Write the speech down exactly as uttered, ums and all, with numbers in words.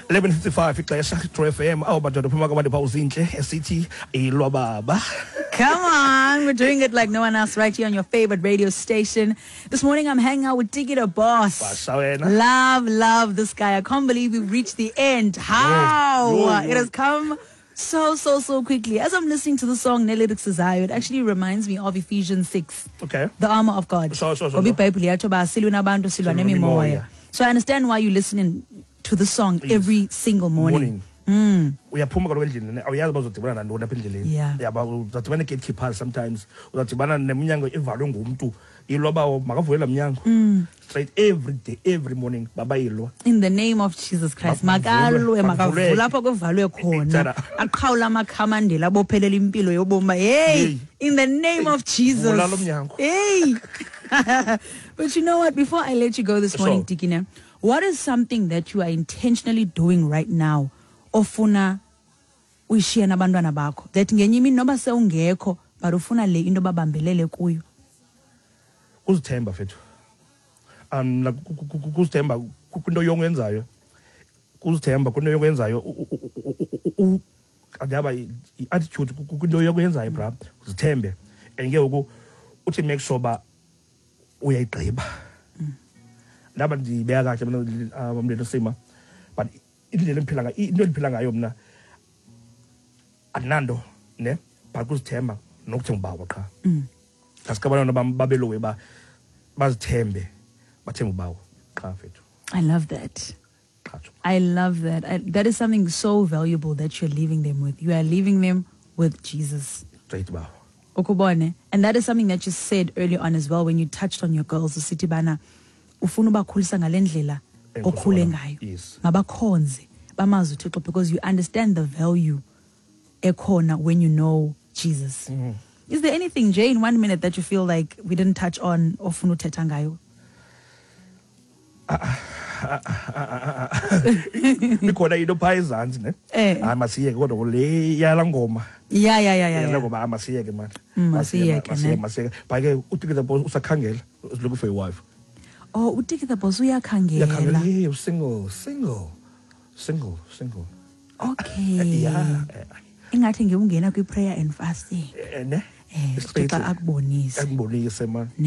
eleven fifty-five ixesha, True F M. Awu madoda, phuma kwabantu pha uzinhle esithi ilwababa. Come on, we're doing it like no one else right here on your favorite radio station. This morning I'm hanging out with Tiki the Boss. Basha wena. Love, love this guy. I can't believe we've reached the end. How? Yo, yo. It has come so, so, so quickly. As I'm listening to the song nelyrics zayo, it actually reminds me of Ephesians six. Okay. The armor of God. Sure, sure, sure, Ngoba sure. iBhayibhile yatsho uba silwe nabantu, silwa Silwa nemimoya. nemimoya. So I understand why you're listening to the song Yes. every single morning. Morning. Uyaphuma kaloku endlini ne, awuyazi uba uzodibana nantoni apha endleleni. Yeah. Yaba uzadibana nee-gatekeepers, sometimes uzadibana neminyango evalwe ngumntu. Ilwa makavule laa mnyango straight every day, every morning, babayilwa. In the name of Jesus Christ, Makuvulwe, makalwe, makuvuleke. Makavule apho kuvalwe khona. Tsara. Aqhawula amakhamandela abophelela impilo yobomi. Hey, Hey. in the name of Jesus. Vula lo mnyango. Hey. But you know what? Before I let you go this morning, Sure. Tikine, what is something that you are intentionally doing right now ofuna uyishiye nabantwana bakho, that ngenye imini noba sewungekho, but ufuna le into babambelele kuyo? Kuzithemba fethu, um like, ku- ku- ku- kuzithemba ku- kwinto yonke oyenzayo, kuzithemba kwinto yonke oyenzayo. u- u- u- u- u- andiyaba i-attitude ku- ku- kwinto yonke oyenzayo, bra, zithembe. And ke ngoku uthi make sure uba uyayigqiba. Ndaba ndiyibeka kahle mna, um mlento sima, but indlela endiphila ngayo, into endiphila ngayo mna, andinanto ne, but kuzithemba nokuthemba ubawo qha. Ngaske abantwana bam babelowe ba bazithembe, bathembe ubawo qha fethu. I love that. Qha tsho. I love that. I, that is something so valuable that you're leaving them with. You are leaving them with Jesus. Straight bawo. Ukubone. And that is something that you said early on as well when you touched on your girls. Usithi bana ufuna ubakhulisa ngale ndlela okhule Enkosi. Ngayo. Yes. Mabakhonze, bamazi uThixo, because you understand the value ekhona when you know Jesus. Mm. Is there anything, Jay, in one minute that you feel like we didn't touch on ofuna uthetha ngayo? Ikhona into phaa ezantsi ne. Eh. Hayi, masiyeke kodwa le yala ngoma. Yeah, yeah, yeah, yeah. Yala yeah. ngoma, hayi, masiyeke man. Mm, masiyeke, masiyeke. Ne. Masiyeke, but ke uTiki the Boss usakhangela, is looking for a wife. Oh, uTiki the Boss uyakhangela. Uyakhangela. Yeah, single, single, single, single. Okay. Yeah. Ingathi ngewungena kwi-prayer and fasting. Eh, ne. Eh, Straight. uThixo akubonise. Akubonise man. Ne.